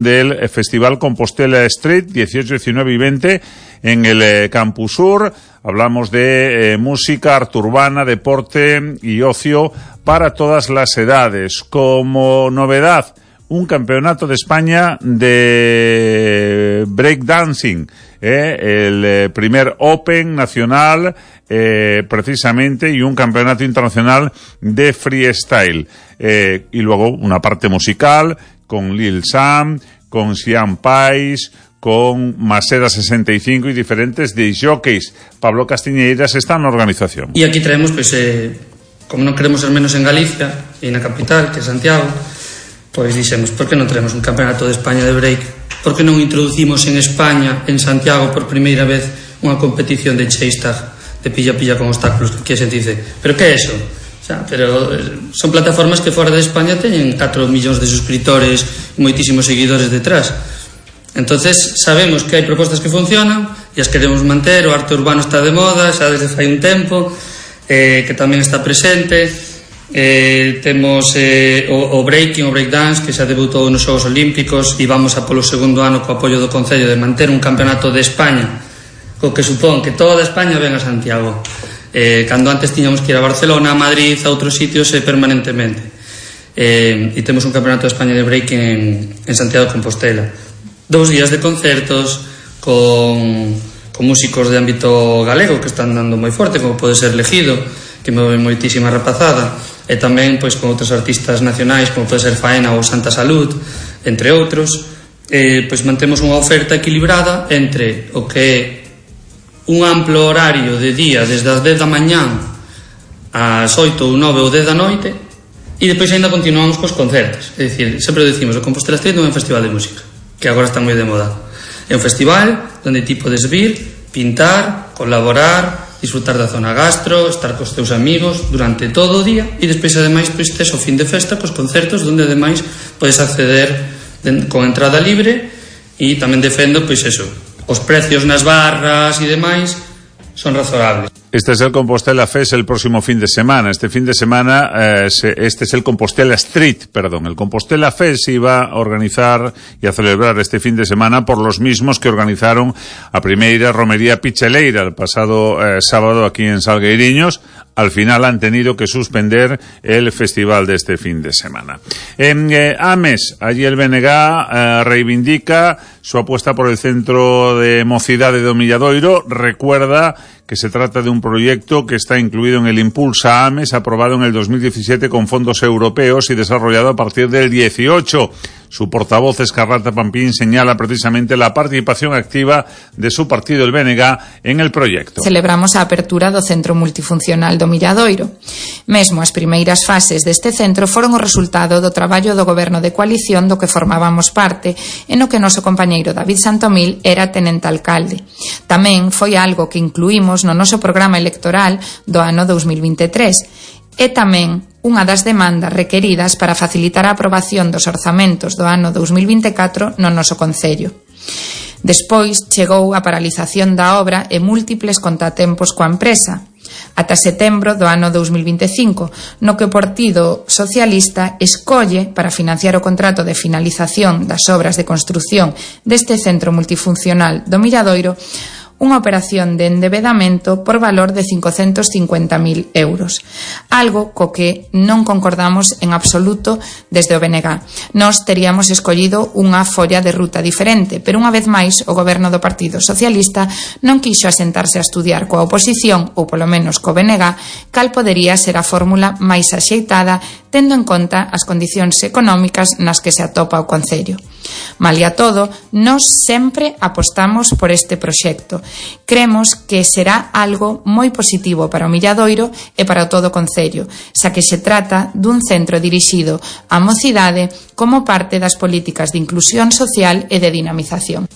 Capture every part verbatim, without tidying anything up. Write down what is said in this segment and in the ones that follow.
del Festival Compostela Street, dieciocho, diecinueve y veinte en el eh, Campus Sur. Hablamos de eh, música, arte urbana, deporte y ocio para todas las edades. Como novedad, un campeonato de España de breakdancing, eh, el eh, primer Open nacional eh, precisamente, y un campeonato internacional de freestyle. Eh, y luego una parte musical con Lil Sam, con Sian Pais, con Maseda sesenta y cinco y diferentes disc jockeys. Pablo Castiñeiras está en la organización. Y aquí traemos, pues, eh, como non queremos ser menos en Galicia e na capital, que é Santiago, pois dixemos, por que non traemos un campeonato de España de break? Por que non introducimos en España, en Santiago, por primeira vez, unha competición de chase tag, de pilla-pilla con obstáculos, que a xente dice, pero que é eso? Pero son plataformas que fora de España teñen catro millóns de suscriptores e moitísimos seguidores detrás. Entonces sabemos que hai propostas que funcionan e as queremos manter. O arte urbano está de moda xa desde fai un tempo, eh, que tamén está presente. eh, temos eh, o, o breaking, o breakdance, que xa debutou nos Xogos Olímpicos, e vamos a polo segundo ano co apoio do Concello de manter un campeonato de España, co que supón que toda España ven a Santiago. Eh, cando antes tiñamos que ir a Barcelona, a Madrid, a outros sitios, eh, permanentemente. Eh, e temos un campeonato de España de breaking en, en Santiago de Compostela. Dous días de concertos con, con músicos de ámbito galego que están dando moi forte, como pode ser Legido, que move moitísima rapazada, e tamén pois con outros artistas nacionais, como pode ser Faena ou Santa Salud, entre outros. Eh, pois mantemos unha oferta equilibrada entre o que é un amplo horario de día desde as dez da mañán ás oito ou nove ou dez da noite, e depois ainda continuamos cos concertos. É dicir, sempre decimos, o Compostela Street non é un festival de música, que agora está moi de moda. É un festival onde ti podes vir, pintar, colaborar, disfrutar da zona gastro, estar cos teus amigos durante todo o día, e despois ademais pois tes o fin de festa cos concertos, onde ademais podes acceder de, con entrada libre, e tamén defendo pois eso, os precios nas barras e demais son razoables. Este es el Compostela Fest el próximo fin de semana. Este fin de semana, eh, se, este es el Compostela Street, perdón. El Compostela Fest se iba a organizar y a celebrar este fin de semana por los mismos que organizaron a primeira Romería Picheleira el pasado eh, sábado aquí en Salgueiriños. Al final han tenido que suspender el festival de este fin de semana. En eh, Ames, allí el B N G eh, reivindica su apuesta por el Centro de Mocidade do Milladoiro. Recuerda que se trata de un proyecto que está incluido en el Impulsa Ames, aprobado en el dos mil diecisiete con fondos europeos y desarrollado a partir del dieciocho. Su portavoz, Escarlata Pampín, señala precisamente la participación activa de su partido, el B N G, en el proyecto. Celebramos a apertura do Centro Multifuncional do Milladoiro. Mesmo as primeiras fases deste centro foron o resultado do traballo do Goberno de coalición do que formábamos parte, e no que noso compañeiro David Santomil era tenente alcalde. Tamén foi algo que incluímos no noso programa electoral do ano dos mil veintitrés. E tamén unha das demandas requeridas para facilitar a aprobación dos orzamentos do ano dos mil veinticatro no noso concello. Despois chegou a paralización da obra e múltiples contratempos coa empresa, ata setembro do ano dos mil veinticinco, no que o Partido Socialista escolle para financiar o contrato de finalización das obras de construción deste centro multifuncional do Milladoiro unha operación de endebedamento por valor de cincocentos cincuenta mil euros. Algo co que non concordamos en absoluto desde o B N G. Nós teríamos escollido unha folla de ruta diferente, pero unha vez máis o goberno do Partido Socialista non quixo asentarse a estudiar coa oposición, ou polo menos co B N G, cal podería ser a fórmula máis axeitada tendo en conta as condicións económicas nas que se atopa o concello. Malia todo, nós sempre apostamos por este proxecto. Cremos que será algo moi positivo para o Milladoiro e para todo o concello, xa que se trata dun centro dirixido á mocidade como parte das políticas de inclusión social e de dinamización.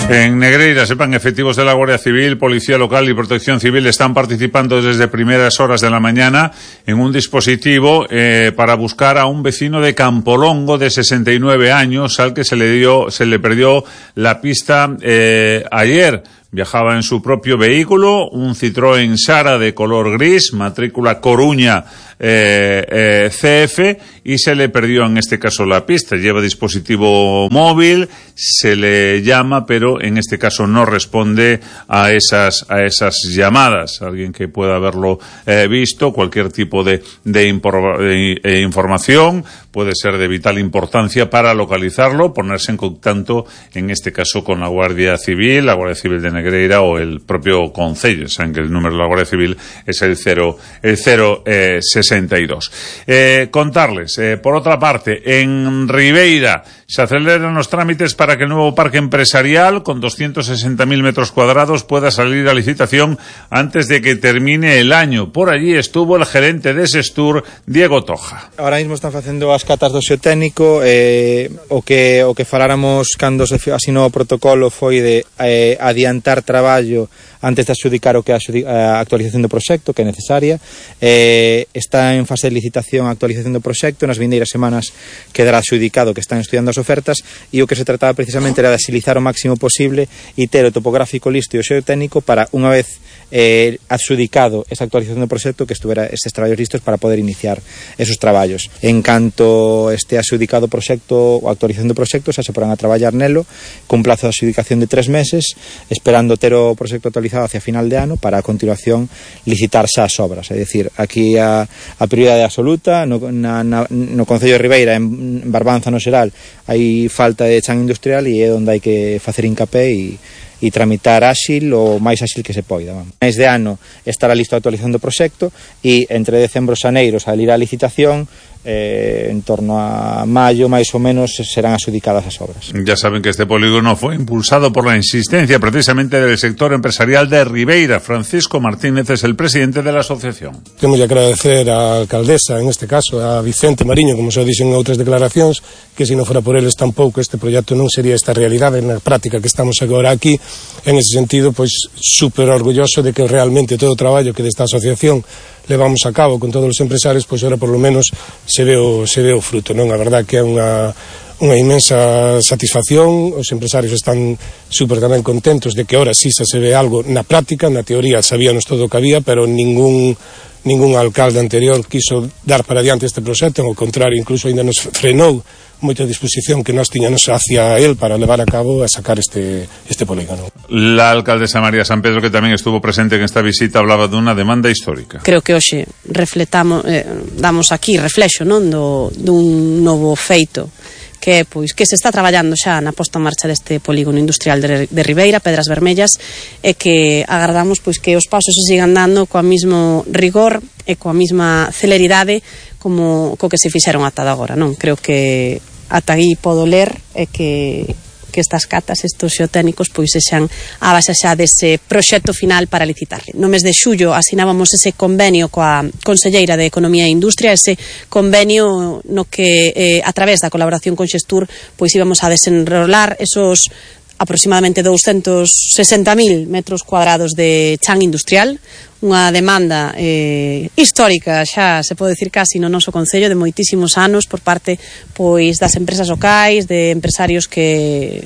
En Negreira, sepan, efectivos de la Guardia Civil, Policía Local y Protección Civil están participando desde primeras horas de la mañana en un dispositivo eh, para buscar a un vecino de Campolongo de sesenta y nueve años al que se le dio, se le perdió la pista eh, ayer. Viajaba en su propio vehículo, un Citroën Sara de color gris, matrícula Coruña eh, eh, C F y se le perdió en este caso la pista. Lleva dispositivo móvil, se le llama, pero en este caso no responde a esas, a esas llamadas. Alguien que pueda haberlo eh, visto, cualquier tipo de, de, impor, de, de información puede ser de vital importancia para localizarlo, ponerse en contacto, en este caso, con la Guardia Civil, la Guardia Civil de Negreira o el propio Concello. Saben que el número de la Guardia Civil es el cero, el cero sesenta y dos. Eh, contarles, eh, por otra parte, en Ribeira se aceleran los trámites para que el nuevo parque empresarial, con doscientos sesenta mil metros cuadrados, pueda salir a licitación antes de que termine el año. Por allí estuvo el gerente de Sestur, Diego Toja. Ahora mismo están facendo as catas do xeotécnico, eh, o que o que faláramos cando se asinou o protocolo foi de eh, adiantar traballo antes de adxudicar o que é a actualización do proxecto, que é necesaria. Eh, está en fase de licitación a actualización do proxecto, nas vindeiras semanas quedará adxudicado, que están estudiando as ofertas, e o que se trataba precisamente era de agilizar o máximo posible e ter o topográfico listo e o xeotécnico para, unha vez eh, adxudicado esa actualización do proxecto, que estuvera estes traballos listos para poder iniciar esos traballos. En canto este adxudicado proxecto ou actualización do proxecto, xa se porán a traballar nelo cun plazo de adxudicación de tres meses, esperando ter o proxecto actualizado hacia final de ano para a continuación licitar xa as obras. É dicir, aquí a, a prioridade absoluta no, na, na, no Concello de Ribeira, en Barbanza no xeral, hai falta de chan industrial e é onde hai que facer hincapé e e tramitar áxil o máis áxil que se poida. Vamos. Mes de ano estará listo a actualización do proxecto e entre decembro e xaneiro salirá a licitación. Eh, en torno a mayo, máis ou menos, serán adxudicadas as obras. Ya saben que este polígono fue impulsado por la insistencia precisamente del sector empresarial de Ribeira. Francisco Martínez es el presidente de la asociación. Temos que agradecer á alcaldesa, en este caso, a Vicente Mariño, como se dixen en outras declaracións, que se non fora por eles tampouco este proxecto non sería esta realidade na práctica que estamos agora aquí. En ese sentido, pois, super orgulloso de que realmente todo o traballo que desta asociación levamos a cabo con todos os empresarios, pois ahora por lo menos se ve o, se ve o fruto, non? A verdad que é unha, unha inmensa satisfacción, os empresarios están super tamén contentos de que ahora sí se ve algo na práctica. Na teoría sabíamos todo o que había, pero ningún ningún alcalde anterior quiso dar para diante este proxecto, ao contrario, incluso ainda nos frenou moita disposición que nós tiñamos hacia él para levar a cabo a sacar este, este polígono. La alcaldesa María San Pedro, que tamén estuvo presente en esta visita, hablaba dunha demanda histórica. Creo que hoxe refletamos, eh, damos aquí reflexo, non, do, dun novo feito que é, pois, que se está traballando xa na posta en marcha deste polígono industrial de, de Ribeira, Pedras Vermellas, e que agardamos, pois, que os pasos se sigan dando coa mismo rigor e coa mesma celeridade como co que se fixeron ata agora, non? Creo que ata aí podo ler é que que estas catas, estos xeotécnicos, pois sexan a base xa dese proxecto final para licitarle. No mes de xullo asinábamos ese convenio coa Conselleira de Economía e Industria, ese convenio no que eh, a través da colaboración con Xestur pois íbamos a desenrolar esos aproximadamente doscientos sesenta mil metros cuadrados de chan industrial, unha demanda eh, histórica, xa se pode dicir casi no noso concello, de moitísimos anos por parte pois das empresas locais, de empresarios que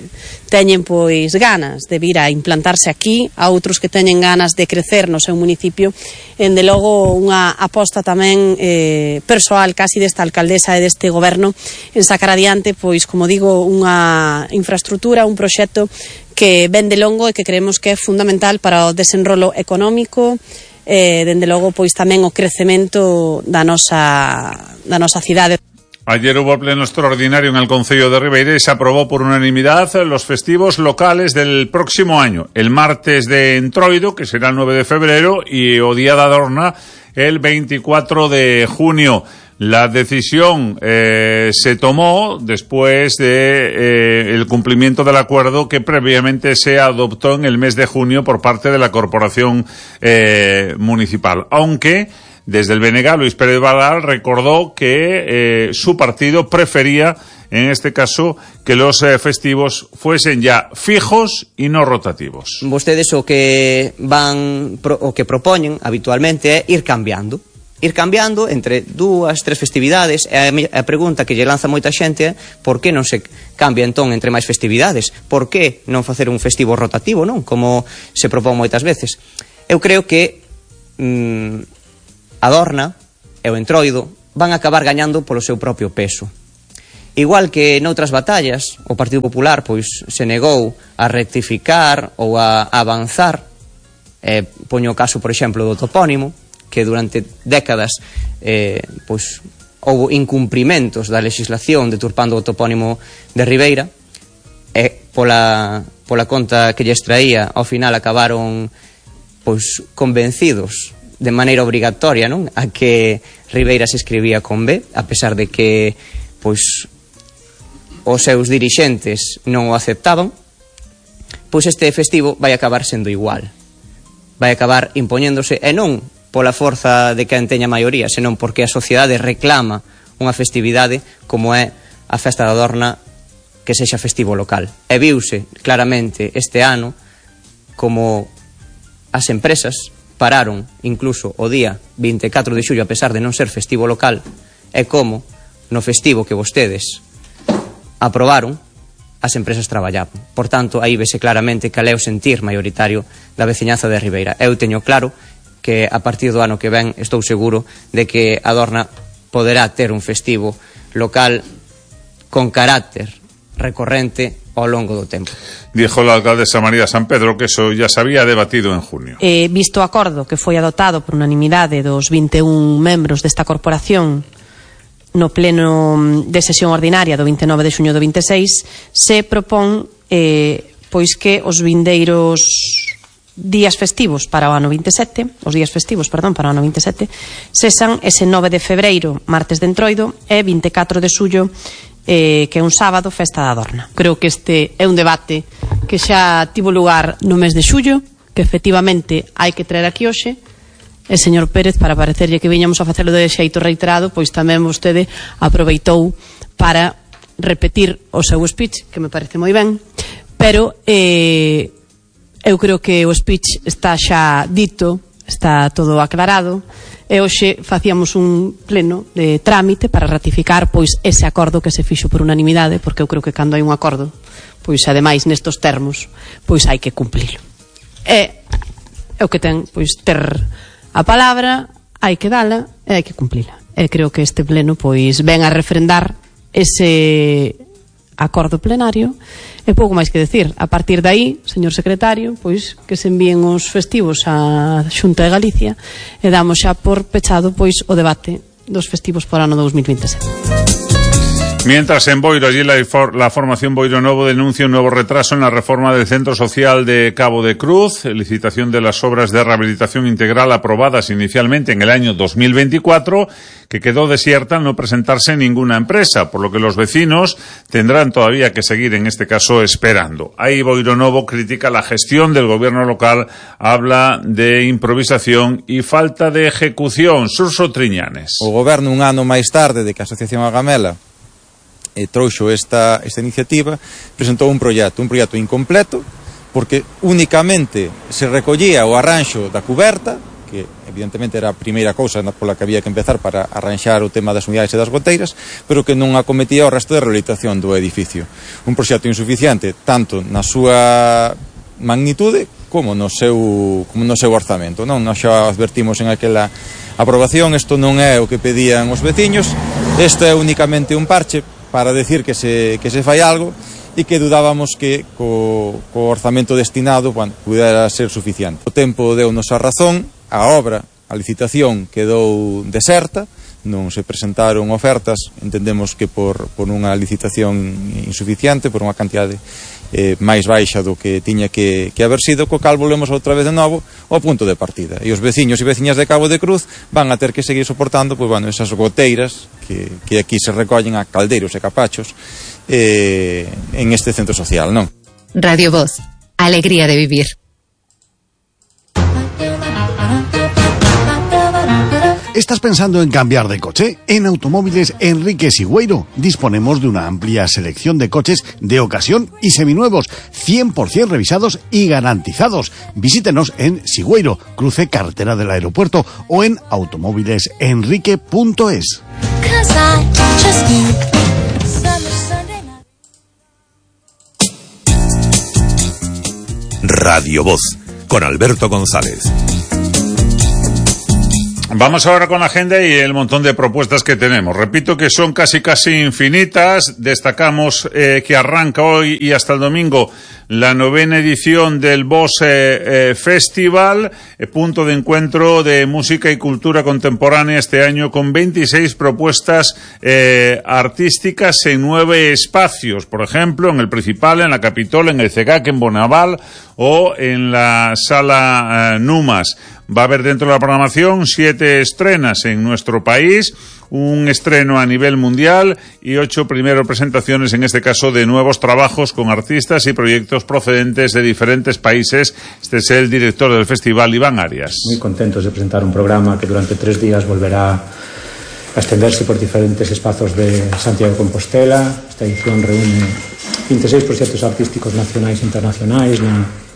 teñen pois ganas de vir a implantarse aquí, a outros que teñen ganas de crecer no seu municipio. En de logo unha aposta tamén eh, persoal casi desta alcaldesa e deste goberno en sacar adiante, pois como digo, unha infraestructura, un proxecto que ven de longo e que creemos que é fundamental para o desenrolo económico, eh, dende logo pois tamén o crecemento da nosa, da nosa cidade. Ayer hubo pleno extraordinario en el Concello de Ribeira y se aprobó por unanimidad los festivos locales del próximo año. El martes de Entroido, que será el nueve de febrero, y o Día da Adorna el veinticuatro de junio. La decisión eh, se tomó después de eh, el cumplimiento del acuerdo que previamente se adoptó en el mes de junio por parte de la Corporación eh, Municipal. Aunque desde el B N G, Luis Pérez Badal recordó que eh, su partido prefería, en este caso, que los eh, festivos fuesen ya fijos y no rotativos. Vostedes o que van o que propoñen habitualmente é ir cambiando. Ir cambiando entre dúas, tres festividades. E a pregunta que lle lanza moita xente é por que non se cambia entón entre máis festividades? Por que non facer un festivo rotativo, non? Como se propón moitas veces. Eu creo que mmm, Adorna e o Entroido van a acabar gañando polo seu propio peso. Igual que noutras batallas, o Partido Popular pois se negou a rectificar ou a avanzar, eh, poño o caso, por exemplo, do topónimo, que durante décadas eh, pois houve incumprimentos da legislación deturpando o topónimo de Ribeira, e pola, pola conta que lles traía, ao final acabaron pois convencidos de maneira obrigatoria, non, a que Ribeira se escribía con B, a pesar de que pois os seus dirixentes non o aceptaban. Pois este festivo vai acabar sendo igual, vai acabar impoñéndose, e non pola forza de quen teña maioría, senón porque a sociedade reclama unha festividade como é a Festa da Dorna que sexa festivo local. E viuse claramente este ano como as empresas pararon incluso o día vinte e catro de xullo a pesar de non ser festivo local, e como no festivo que vostedes aprobaron as empresas traballaban. Por tanto, aí vese claramente cal é o sentir maioritario da veciñanza de Ribeira. Eu teño claro que a partir do ano que ven estou seguro de que a Dorna poderá ter un festivo local con carácter recorrente ao longo do tempo. Dijo la alcaldesa María San Pedro que eso ya se había debatido en junio. Eh, visto o acordo que foi adoptado por unanimidade dos vinte e un membros desta corporación no pleno de sesión ordinaria do vinte e nove de xuño do vinte e seis, se propón eh, pois que os vindeiros días festivos para o ano vinte e sete, os días festivos, perdón, para o ano vinte e sete, sesan ese nove de febreiro, martes de Entroido, e vinte e catro de xullo, eh, que é un sábado, Festa da Dorna. Creo que este é un debate que xa tivo lugar no mes de xullo, que efectivamente hai que traer aquí hoxe. E señor Pérez, para parecerlle que viñamos a facelo de xeito reiterado, pois tamén vostede aproveitou para repetir o seu speech, que me parece moi ben, pero eh, eu creo que o speech está xa dito, está todo aclarado, e hoxe facíamos un pleno de trámite para ratificar pois ese acordo que se fixo por unanimidade, porque eu creo que cando hai un acordo, pois ademais nestos termos, pois hai que cumplilo. E é o que ten, pois ter a palabra, hai que dala e hai que cumplila. E creo que este pleno pois ven a refrendar ese acordo plenario e pouco máis que decir. A partir de aí, señor secretario, pois que se envíen os festivos á Xunta de Galicia e damos xa por pechado pois o debate dos festivos por ano dos mil veintesete. Mientras en Boiro, allí la, la formación Boiro Novo denuncia un nuevo retraso en la reforma del Centro Social de Cabo de Cruz, licitación de las obras de rehabilitación integral aprobadas inicialmente en el año dos mil veinticuatro, que quedó desierta al no presentarse ninguna empresa, por lo que los vecinos tendrán todavía que seguir, en este caso, esperando. Ahí Boiro Novo critica la gestión del gobierno local, habla de improvisación y falta de ejecución. Surso Triñanes. O goberno un ano máis tarde de que a Asociación Agamela e trouxo esta, esta iniciativa, presentou un proxecto, un proxecto incompleto, porque únicamente se recollía o arranxo da cuberta, que evidentemente era a primeira cousa pola que había que empezar para arranxar o tema das unidades e das goteiras, pero que non acometía o resto de rehabilitación do edificio. Un proxecto insuficiente, tanto na súa magnitude como no seu, como no seu orzamento. Non? Nós xa advertimos en aquela aprobación, isto non é o que pedían os veciños, isto é únicamente un parche para decir que se, que se fai algo e que dudábamos que co, co orzamento destinado, bueno, pudera ser suficiente. O tempo deu-nos a razón, a obra, a licitación quedou deserta, non se presentaron ofertas, entendemos que por, por unha licitación insuficiente, por unha cantidade eh, máis baixa do que tiña que, que haber sido, co cal volvemos outra vez de novo ao punto de partida. E os veciños e veciñas de Cabo de Cruz van a ter que seguir soportando pois, bueno, esas goteiras que, que aquí se recollen a caldeiros e capachos eh, en este centro social, non? Radio Voz, alegría de vivir. ¿Estás pensando en cambiar de coche? En Automóviles Enrique Sigüeiro disponemos de una amplia selección de coches de ocasión y seminuevos, cien por ciento revisados y garantizados. Visítenos en Sigüeiro, cruce carretera del aeropuerto, o en automóviles enrique punto es. Radio Voz, con Alberto González. Vamos ahora con la agenda y el montón de propuestas que tenemos. Repito que son casi casi infinitas. Destacamos eh, que arranca hoy y hasta el domingo la novena edición del Boss eh, eh, Festival, eh, punto de encuentro de música y cultura contemporánea este año con veintiséis propuestas eh, artísticas en nueve espacios. Por ejemplo, en el Principal, en la Capitol, en el CEGAC, en Bonaval o en la Sala eh, Numas. Va a haber dentro de la programación siete estrenas en nuestro país, un estreno a nivel mundial y ocho primeras presentaciones, en este caso, de nuevos trabajos con artistas y proyectos procedentes de diferentes países. Este es el director del festival, Iván Arias. Muy contentos de presentar un programa que durante tres días volverá a extenderse por diferentes espacios de Santiago de Compostela. Esta edición reúne veintiséis proxectos artísticos nacionais e internacionais na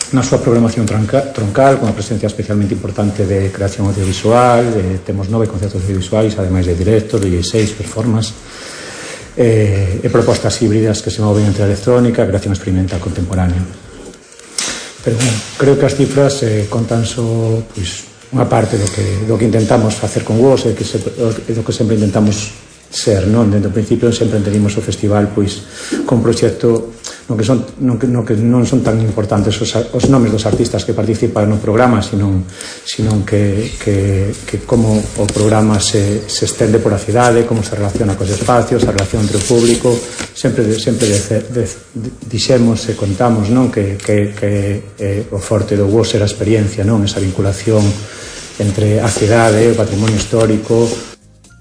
na súa programación tronca, troncal, con a presencia especialmente importante de creación audiovisual. Eh, temos nove concertos audiovisuais, ademais de directos, de dezasseis performances, eh, e propostas híbridas que se moven entre a electrónica e a creación experimental contemporánea. Pero, bueno, creo que as cifras eh, contan só pois, unha parte do que, do que intentamos facer con vos e que se, do que sempre intentamos ser, non? Dentro do principio sempre entendimos o festival pois con un proxecto no que son no que, no que non son tan importantes os, os nomes dos artistas que participan no programa, sino, sino que, que, que como o programa se, se estende por a cidade, como se relaciona cos espacios, a relación entre o público. Sempre, sempre de, de, de, dixemos e contamos, non? Que, que, que eh, o forte do vos era a experiencia, non? Esa vinculación entre a cidade, o patrimonio histórico.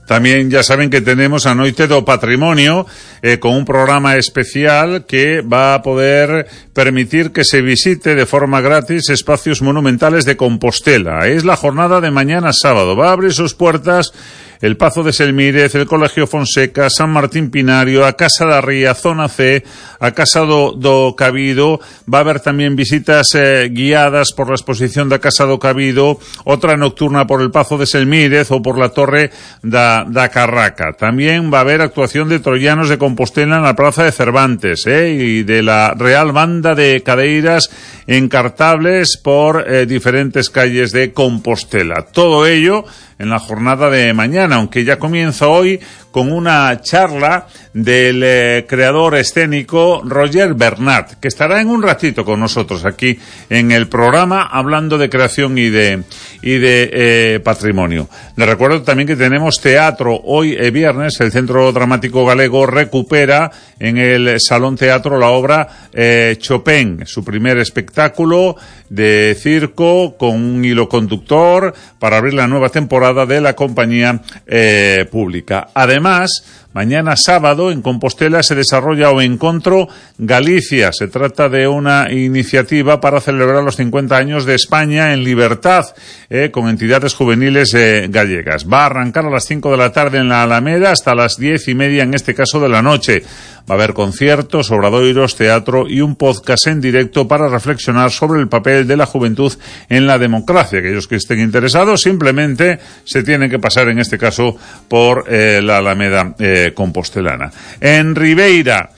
También ya saben que tenemos a Noite do Patrimonio eh, con un programa especial que va a poder permitir que se visite de forma gratis espacios monumentales de Compostela. Es la jornada de mañana sábado. Va a abrir sus puertas el Pazo de Selmírez, el Colegio Fonseca, San Martín Pinario, a Casa da Ría, Zona C, a Casa do, do Cabido. Va a haber también visitas eh, guiadas por la exposición da Casa do Cabido, otra nocturna por el Pazo de Selmírez o por la Torre da, da Carraca. También va a haber actuación de troyanos de Compostela en la Plaza de Cervantes eh, y de la Real Banda de Cadeiras encartables por eh, diferentes calles de Compostela. Todo ello en la jornada de mañana, aunque ya comienza hoy con una charla del eh, creador escénico Roger Bernat, que estará en un ratito con nosotros aquí en el programa hablando de creación y de y de eh, patrimonio. Les recuerdo también que tenemos teatro hoy eh, viernes. El Centro Dramático Galego recupera en el Salón Teatro la obra eh, Chopin, su primer espectáculo de circo con un hilo conductor para abrir la nueva temporada de la compañía eh, pública. Además, mañana sábado en Compostela se desarrolla o Encontro Galicia. Se trata de una iniciativa para celebrar los cincuenta años de España en libertad, eh, con entidades juveniles eh, gallegas. Va a arrancar a las cinco de la tarde en la Alameda hasta las diez y media, en este caso de la noche. Va a haber conciertos, obradoiros, teatro y un podcast en directo para reflexionar sobre el papel de la juventud en la democracia. Aquellos que estén interesados simplemente se tienen que pasar, en este caso, por eh, la Alameda eh, compostelana. En Ribeira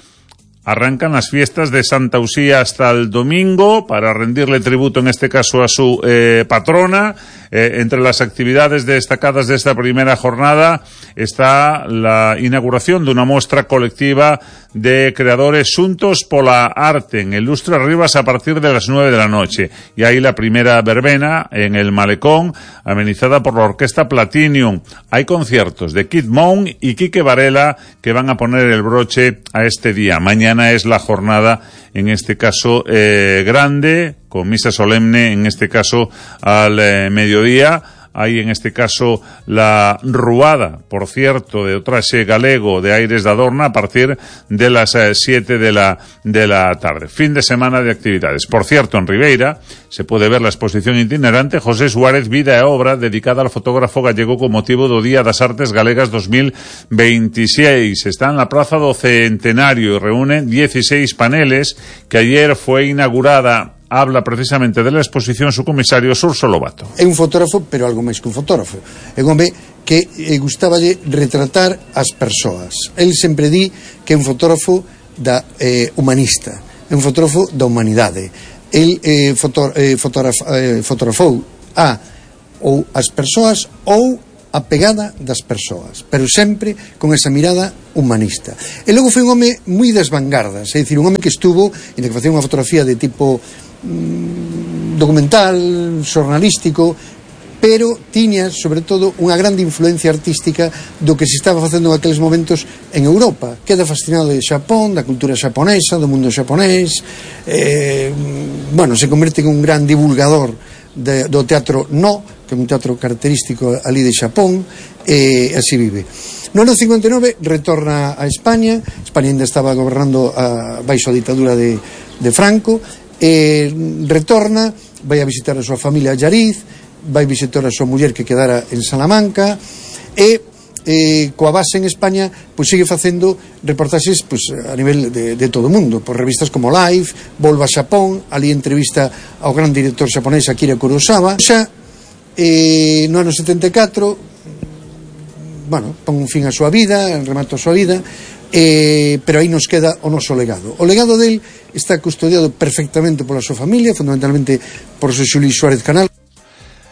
arrancan las fiestas de Santa Usía hasta el domingo para rendirle tributo, en este caso, a su eh, patrona. Eh, entre las actividades destacadas de esta primera jornada está la inauguración de una muestra colectiva de creadores xuntos pola arte en el Lustre Rivas a partir de las nueve de la noche. Y ahí la primera verbena en el Malecón, amenizada por la Orquesta Platinum. Hay conciertos de Kid Moon y Quique Varela que van a poner el broche a este día. Mañana es la jornada, en este caso, eh, grande, con misa solemne, en este caso, al eh, mediodía. Hay, en este caso, la ruada, por cierto, de Otraxe Galego de Aires da Adorna a partir de las eh, siete de la, de la tarde. Fin de semana de actividades. Por cierto, en Ribeira se puede ver la exposición itinerante José Suárez, Vida e Obra, dedicada al fotógrafo gallego con motivo do Día das Artes Galegas dos mil veintiséis. Está en la Praza do Centenario y reúne dieciséis paneles que ayer fue inaugurada. Habla precisamente de la exposición su comisario Surso Lobato. É un fotógrafo, pero algo máis que un fotógrafo. É un home que eh, gustaballe retratar as persoas. El sempre di que é un fotógrafo da eh, humanista, é un fotógrafo da humanidade. El eh, foto, eh, fotograf, eh, fotografou a ou as persoas ou a pegada das persoas, pero sempre con esa mirada humanista. E logo foi un home moi das vanguardas, é dicir, un home que estuvo, en que facía unha fotografía de tipo mmm, documental, xornalístico, pero tiña, sobre todo, unha grande influencia artística do que se estaba facendo en aqueles momentos en Europa. Queda fascinado de Xapón, da cultura xaponesa, do mundo xaponés, eh, bueno, se converte en un gran divulgador de, do teatro No, que é un teatro característico ali de Xapón, e así vive. No ano cincuenta e nove retorna a España. España ainda estaba gobernando a, baixo a ditadura de, de Franco, e retorna, vai a visitar a súa familia a Llariz, vai visitar a súa muller que quedara en Salamanca, e eh, coa base en España pois sigue facendo reportaxes pois, a nivel de, de todo o mundo, por revistas como Life, volva a Xapón, ali entrevista ao gran director xaponés Akira Kurosawa. Xa eh, no ano setenta e catro, bueno, pon un fin a súa vida, remata a súa vida, eh, pero aí nos queda o noso legado. O legado del está custodiado perfectamente pola súa familia, fundamentalmente por Xosé Luis Suárez Canal.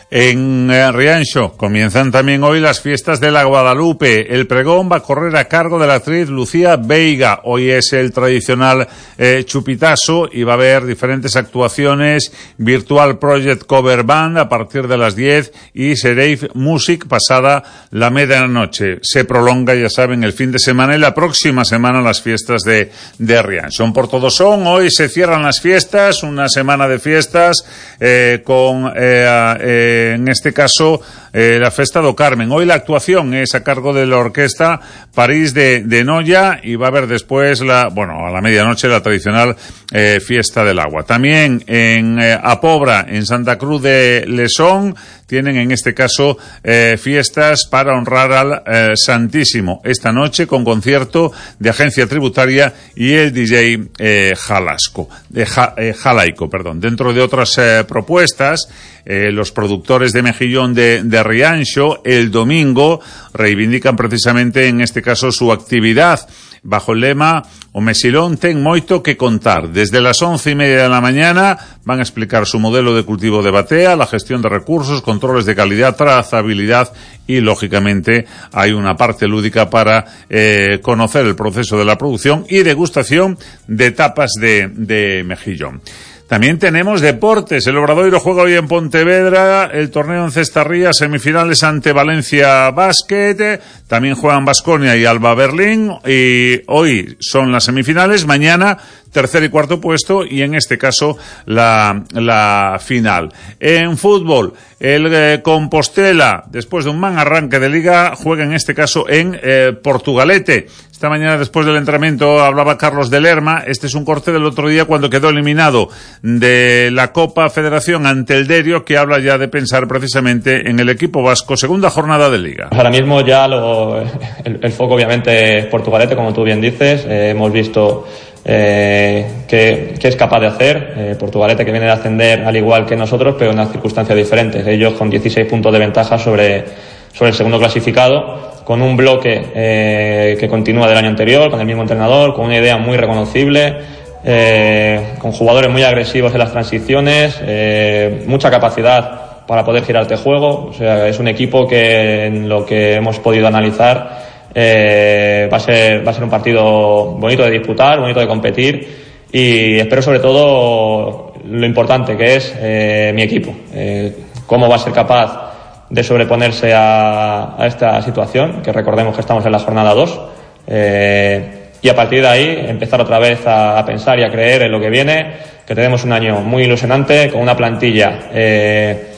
En Rianxo comienzan también hoy las fiestas de la Guadalupe. El pregón va a correr a cargo de la actriz Lucía Veiga. Hoy es el tradicional eh, chupitazo y va a haber diferentes actuaciones. Virtual Project Cover Band a partir de las diez y Serif Music pasada la medianoche. Se prolonga, ya saben, el fin de semana y la próxima semana las fiestas de, de Rianxo. Por todo son, hoy se cierran las fiestas, una semana de fiestas eh, con... Eh, eh, en este caso eh, la Festa do Carmen. Hoy la actuación es a cargo de la orquesta París de, de Noia y va a haber después la, bueno, a la medianoche la tradicional eh, Fiesta del Agua. También en eh, Apobra, en Santa Cruz de Lesón, tienen en este caso eh, fiestas para honrar al eh, Santísimo esta noche con concierto de Agencia Tributaria y el D J eh, Jalasco, de ja, eh, Jalaico, perdón. Dentro de otras eh, propuestas, eh, los productores de Mejillón de, de Rianxo el domingo reivindican precisamente en este caso su actividad bajo el lema O Mesilón ten moito que contar. Desde las once y media de la mañana van a explicar su modelo de cultivo de batea, la gestión de recursos, controles de calidad, trazabilidad y, lógicamente, hay una parte lúdica para eh, conocer el proceso de la producción y degustación de tapas de, de mejillón. También tenemos deportes. El Obradoiro juega hoy en Pontevedra el torneo en Cestarría, semifinales ante Valencia Basket. También juegan Baskonia y Alba Berlín. Y hoy son las semifinales. Mañana tercer y cuarto puesto y en este caso la, la final. En fútbol, el eh, Compostela, después de un mal arranque de liga, juega en este caso en eh, Portugalete. Esta mañana, después del entrenamiento, hablaba Carlos de Lerma. Este es un corte del otro día cuando quedó eliminado de la Copa Federación ante el Derio, que habla ya de pensar precisamente en el equipo vasco, segunda jornada de liga. Ahora mismo ya lo, el, el foco obviamente es Portugalete, como tú bien dices. Eh, hemos visto eh, qué, qué es capaz de hacer. Eh, Portugalete, que viene de ascender al igual que nosotros, pero en unas circunstancias diferentes. Ellos con dieciséis puntos de ventaja sobre, sobre el segundo clasificado, con un bloque eh, que continúa del año anterior, con el mismo entrenador, con una idea muy reconocible, eh, con jugadores muy agresivos en las transiciones, eh, mucha capacidad para poder girar este juego. O sea, es un equipo que, en lo que hemos podido analizar, eh, va a ser, va a ser un partido bonito de disputar, bonito de competir, y espero sobre todo lo importante que es eh, mi equipo, eh, cómo va a ser capaz de sobreponerse a, a esta situación, que recordemos que estamos en la jornada dos, eh, y a partir de ahí empezar otra vez a, a pensar y a creer en lo que viene, que tenemos un año muy ilusionante, con una plantilla eh,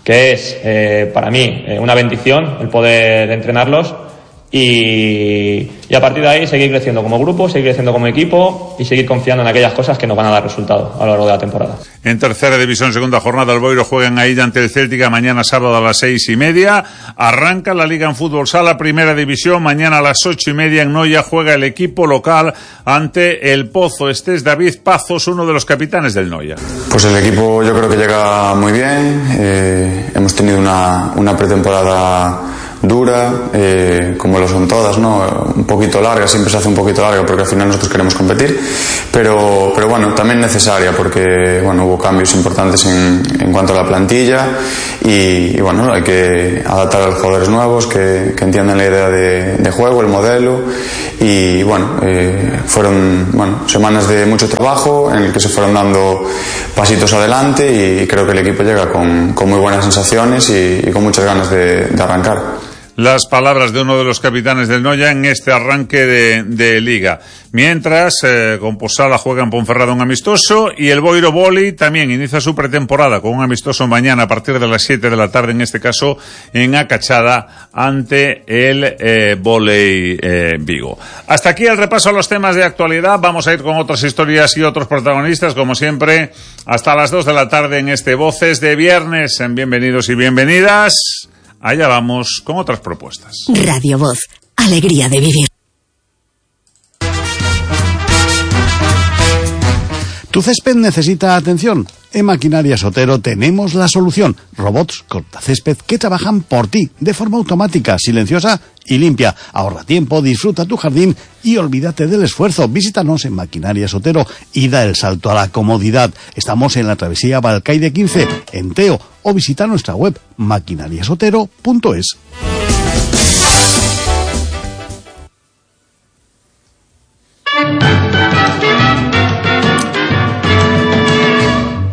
que es eh, para mí eh, una bendición el poder entrenarlos, y, y a partir de ahí seguir creciendo como grupo, seguir creciendo como equipo y seguir confiando en aquellas cosas que nos van a dar resultado a lo largo de la temporada. En tercera división, segunda jornada, el Boiro juega en Aida ante el Céltica mañana sábado a las seis y media. Arranca la Liga en Fútbol Sala, primera división. Mañana a las ocho y media en Noia juega el equipo local ante el Pozo. Este es David Pazos, uno de los capitanes del Noia. Pues el equipo yo creo que llega muy bien. Eh, hemos tenido una, una pretemporada dura, eh, como lo son todas, ¿no? Un poquito larga, siempre se hace un poquito larga porque al final nosotros queremos competir, pero, pero bueno, también necesaria porque, bueno, hubo cambios importantes en, en cuanto a la plantilla y, y bueno, hay que adaptar a los jugadores nuevos que, que entiendan la idea de, de juego, el modelo y bueno, eh, fueron bueno, semanas de mucho trabajo en el que se fueron dando pasitos adelante y creo que el equipo llega con, con muy buenas sensaciones y, y con muchas ganas de, de arrancar. Las palabras de uno de los capitanes del Noia en este arranque de, de Liga. Mientras, eh, con Posada juega en Ponferrada un amistoso y el Boiro Voli también inicia su pretemporada con un amistoso mañana a partir de las siete de la tarde, en este caso en Acachada, ante el eh, Voley eh, Vigo. Hasta aquí el repaso a los temas de actualidad. Vamos a ir con otras historias y otros protagonistas, como siempre, hasta las dos de la tarde en este Voces de Viernes. Bienvenidos y bienvenidas. Allá vamos con otras propuestas. Radio Voz, alegría de vivir. ¿Tu césped necesita atención? En Maquinarias Otero tenemos la solución. Robots cortacésped que trabajan por ti, de forma automática, silenciosa y limpia. Ahorra tiempo, disfruta tu jardín y olvídate del esfuerzo. Visítanos en Maquinarias Otero y da el salto a la comodidad. Estamos en la travesía Balcaide quince, en Teo, o visita nuestra web maquinarias otero punto es.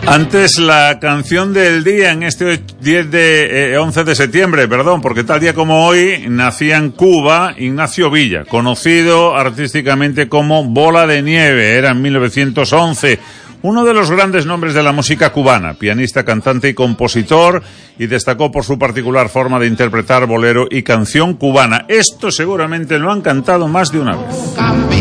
Antes la canción del día en este diez de, eh, once de septiembre, perdón, porque tal día como hoy nacía en Cuba Ignacio Villa, conocido artísticamente como Bola de Nieve, era en mil novecientos once, uno de los grandes nombres de la música cubana, pianista, cantante y compositor, y destacó por su particular forma de interpretar bolero y canción cubana. Esto seguramente lo han cantado más de una vez.